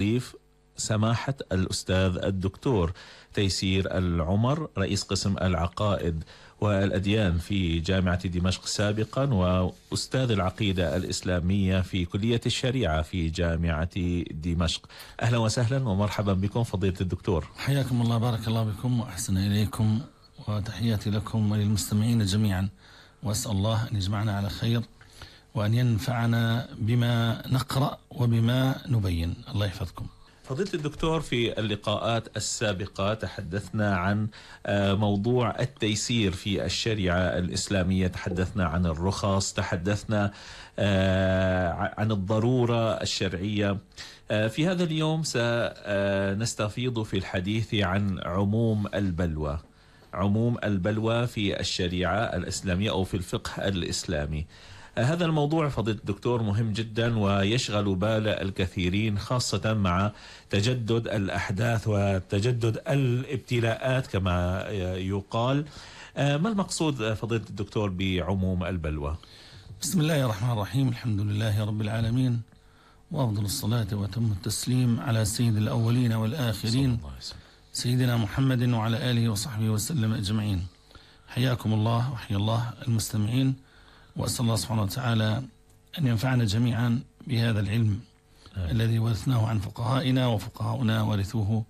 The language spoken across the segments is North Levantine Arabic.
ضيف سماحة الأستاذ الدكتور تيسير العمر، رئيس قسم العقائد والأديان في جامعة دمشق سابقا، وأستاذ العقيدة الإسلامية في كلية الشريعة في جامعة دمشق. أهلا وسهلا ومرحبا بكم فضيلة الدكتور. حياكم الله، بارك الله بكم وأحسن إليكم، وتحياتي لكم وللمستمعين جميعا، وأسأل الله أن يجمعنا على خير وأن ينفعنا بما نقرأ وبما نبين. الله يحفظكم. فضيلة الدكتور، في اللقاءات السابقة تحدثنا عن موضوع التيسير في الشريعة الإسلامية، تحدثنا عن الرخص، تحدثنا عن الضرورة الشرعية. في هذا اليوم سنستفيض في الحديث عن عموم البلوى، عموم البلوى في الشريعة الإسلامية أو في الفقه الإسلامي. هذا الموضوع فضيلة الدكتور مهم جدا ويشغل بال الكثيرين، خاصة مع تجدد الأحداث وتجدد الابتلاءات كما يقال. ما المقصود فضيلة الدكتور بعموم البلوى؟ بسم الله الرحمن الرحيم، الحمد لله رب العالمين، وأفضل الصلاة وأتم التسليم على سيد الأولين والآخرين سيدنا محمد وعلى آله وصحبه وسلم أجمعين. حياكم الله وحيا الله المستمعين، وأسأل الله سبحانه وتعالى أن ينفعنا جميعا بهذا العلم الذي ورثناه عن فقهائنا، وفقهاؤنا ورثوه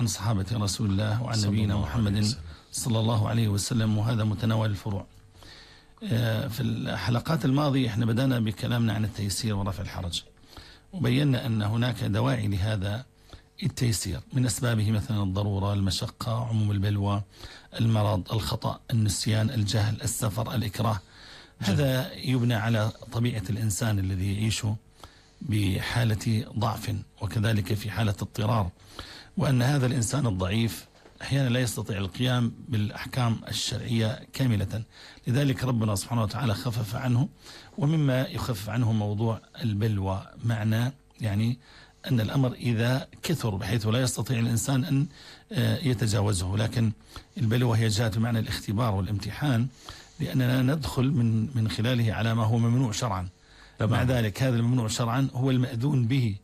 عن صحابة رسول الله وعن نبينا محمد صلى الله عليه وسلم، وهذا متناول الفروع. في الحلقات الماضية احنا بدأنا بكلامنا عن التيسير ورفع الحرج، وبينا أن هناك دواعي لهذا التيسير، من أسبابه مثلا الضرورة، المشقة، عموم البلوى، المرض، الخطأ، النسيان، الجهل، السفر، الإكراه. هذا يبنى على طبيعة الإنسان الذي يعيش بحالة ضعف وكذلك في حالة اضطرار، وأن هذا الإنسان الضعيف أحيانا لا يستطيع القيام بالأحكام الشرعية كاملة، لذلك ربنا سبحانه وتعالى خفف عنه. ومما يخفف عنه موضوع البلوى، معنى يعني أن الأمر إذا كثر بحيث لا يستطيع الإنسان أن يتجاوزه، لكن البلوى هي جاءت بمعنى الاختبار والامتحان، لأننا ندخل من خلاله على ما هو ممنوع شرعا. مع ذلك هذا الممنوع شرعا هو المأذون به.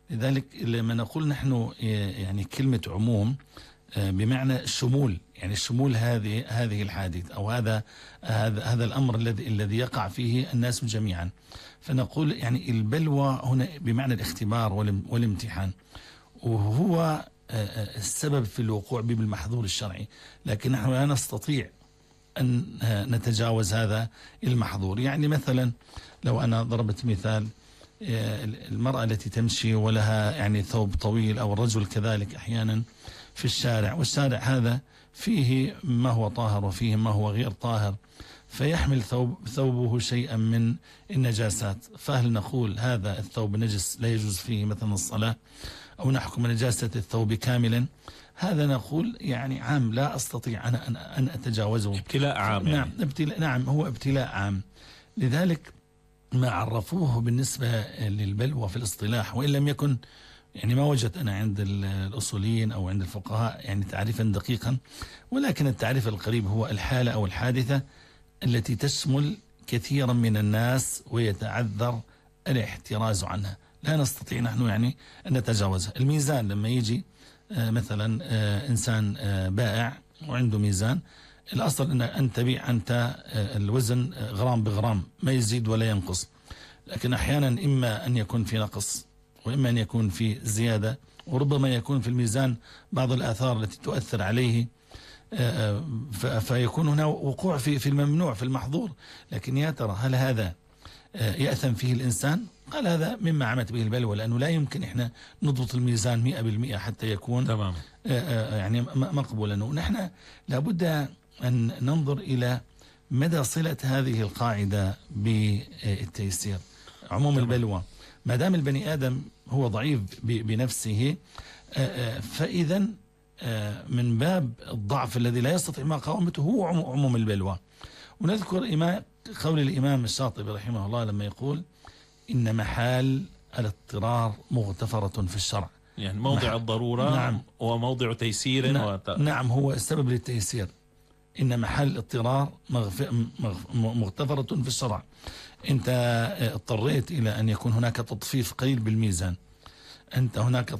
لذلك لما نقول نحن يعني كلمة عموم بمعنى الشمول، يعني الشمول هذه الحادث أو هذا الأمر الذي يقع فيه الناس جميعا، فنقول يعني البلوى هنا بمعنى الاختبار والامتحان، وهو السبب في الوقوع بالمحظور الشرعي، لكن نحن لا نستطيع أن نتجاوز هذا المحظور. يعني مثلا لو أنا ضربت مثال، المرأة التي تمشي ولها يعني ثوب طويل، أو الرجل كذلك أحيانا في الشارع، والشارع هذا فيه ما هو طاهر وفيه ما هو غير طاهر، فيحمل ثوبه شيئا من النجاسات، فهل نقول هذا الثوب نجس لا يجوز فيه مثلا الصلاة، أو نحكم نجاسة الثوب كاملا؟ هذا نقول يعني عام لا أستطيع أنا أن أتجاوزه، ابتلاء عام. نعم يعني. نعم هو ابتلاء عام. لذلك ما عرفوه بالنسبة للبلوى في الاصطلاح، وإن لم يكن يعني ما وجدت أنا عند الأصوليين أو عند الفقهاء يعني تعريفا دقيقا، ولكن التعريف القريب هو الحالة أو الحادثة التي تشمل كثيرا من الناس ويتعذر الاحتراز عنها، لا نستطيع نحن يعني أن نتجاوزها. الميزان لما يجي مثلا إنسان بائع وعنده ميزان، الأصل أن تبيع أنت الوزن غرام بغرام، ما يزيد ولا ينقص، لكن أحيانا إما أن يكون في نقص وإما أن يكون في زيادة، وربما يكون في الميزان بعض الآثار التي تؤثر عليه، فيكون هنا وقوع في الممنوع في المحظور. لكن يا ترى هل هذا يأثم فيه الإنسان؟ قال هذا مما عمت به البلوى، لأنه لا يمكن إحنا نضبط الميزان 100% حتى يكون تمام يعني مقبولا. ونحن لابد أن ننظر إلى مدى صلة هذه القاعدة بالتيسير، عموم البلوى. ما دام البني آدم هو ضعيف بنفسه، فإذا من باب الضعف الذي لا يستطيع مقاومته هو عموم البلوى. ونذكر قول الإمام الشاطبي رحمه الله لما يقول إن محال الاضطرار مغتفرة في الشرع، يعني موضع الضرورة. نعم. وموضع تيسير. نعم هو السبب للتيسير. إن محل الاضطرار مغتفرة في الشرع. أنت اضطريت إلى أن يكون هناك تطفيف قليل بالميزان، أنت هناك